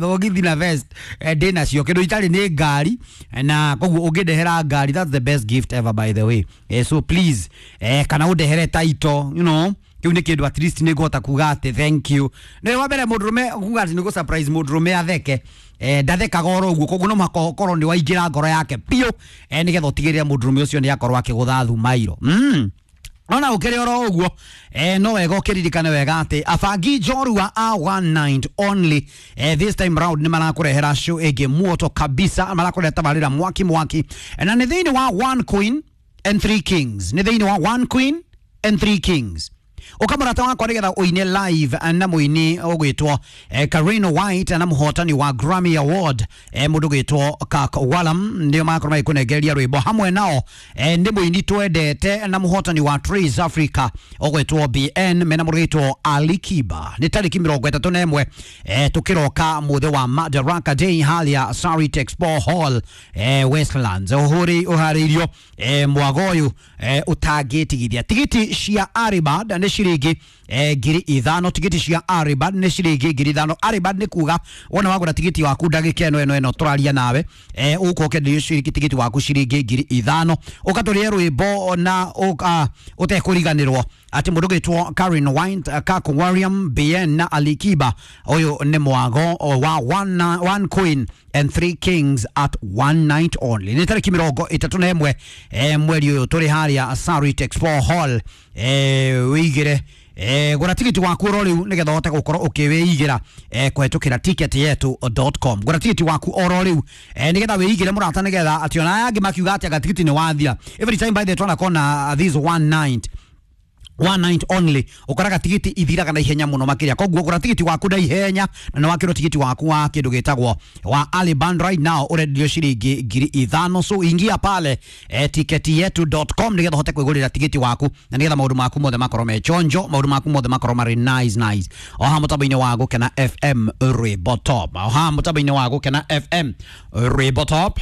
Thogithi na vest ndĩ nacio, kĩndũ itarĩ nĩ ngari, na koguo ũngĩndehera ngari, that's the best gift ever, by the way. So please, kana ũndehere title, kĩu nĩ kĩndũ at least nĩ ngũhota kuga atĩ thank you. Nĩ wa mbere mũndũrũme kuga atĩ nĩ gũ surprise mũndũrũme atheke, ndathekaga oro ũguo, koguo no mũhaka ũkorwo nĩ waingĩra ngoro yake biũ, nĩgetha ũtigĩrĩre mũndũrũme ũcio nĩ akorwo akĩgũtha thumairo. Ona ũkĩrĩ oro ũguo, no wega ũkĩririkane wega atĩ abangi njorua a one night only, this time round nĩ marakũrehera show ĩngĩ muoto kabisa, marakũrehera tabarĩra mwaki mwaki, na nĩ thĩinĩ wa One Queen and Three Kings, nĩ thĩinĩ wa One Queen and Three Kings. Ũkamũrata wakwa nĩgetha ũine live na mũini ũgwĩtwo Karino White na mũhotani wa Grammy Award, mũndũ ũgwĩtwo Kirk Whalum, nĩo magakorwo magĩkũnengereria rwĩmbo hamwe nao, nĩ mũini twendete na mũhotani wa Trace Africa ũgwĩtwo BN mena mũndũ ũgwĩtwo Ali Kiba. Nĩ tarĩki 31, tũkĩroka mũthĩ wa Madaraka Day harĩa Sarit Expo Hall, Westlands, ũhũri ũharĩirio, mwago ũyũ, ũtangĩtigithia. Tigiti cia Aribad nĩ ciringi 5,000, tigiti cia Aribad nĩ ciringi 5,000. Aribad nĩ kuga wona wagũra tigiti waku ndagĩka ĩno ĩno tũraria nawe, ũgũkorwo ũkĩenderio ciringi tigiti waku ciringi 5,000, ũkatũrĩe rwĩmbo na ũtekũriganĩrwo atĩ mũndũ ũgĩtwo Karen White, Kirk Whalum, BN na Alikiba. Ũyũ nĩ mwago wa one Queen and Three Kings at one night only. Nĩ tarĩki 31, mweri ũyũ, tũrĩ harĩa Sarit Expo Hall. Wĩigĩre, gũra tigiti waku oro rĩu nĩgetha ũhote gũkorwo ũkĩwĩigĩra, kũhetũkĩra ticketyetu.com. Gũra tigiti waku oro rĩu, nĩgetha wĩigĩre mũrata, nĩgetha atĩ ona aya angĩ makiuga atĩ anga tigiti nĩ wathira. Every time, by the twanakona this one night, one night only, ũkoraga tigiti ithiraga na ihenya mũno makĩria, koguo gũra tigiti waku na ihenya, na nĩ wakĩrwo tigiti waku wa kĩndũ gĩtagwo wa Early Band right now ũrendio ciringi 5,000. So ingia pale, ticketyetu.com, nĩgetha ũhote kwĩgũrĩra tigiti waku na nĩgetha maũndũ maku mothe makorwo me chonjo, maũndũ maku mothe makorwo marĩ nice nice. Oha mũtambo-inĩ wa Gũkena FM, rwĩmbo top. Oha mũtambo-inĩ wa Gũkena FM, rwĩmbo top.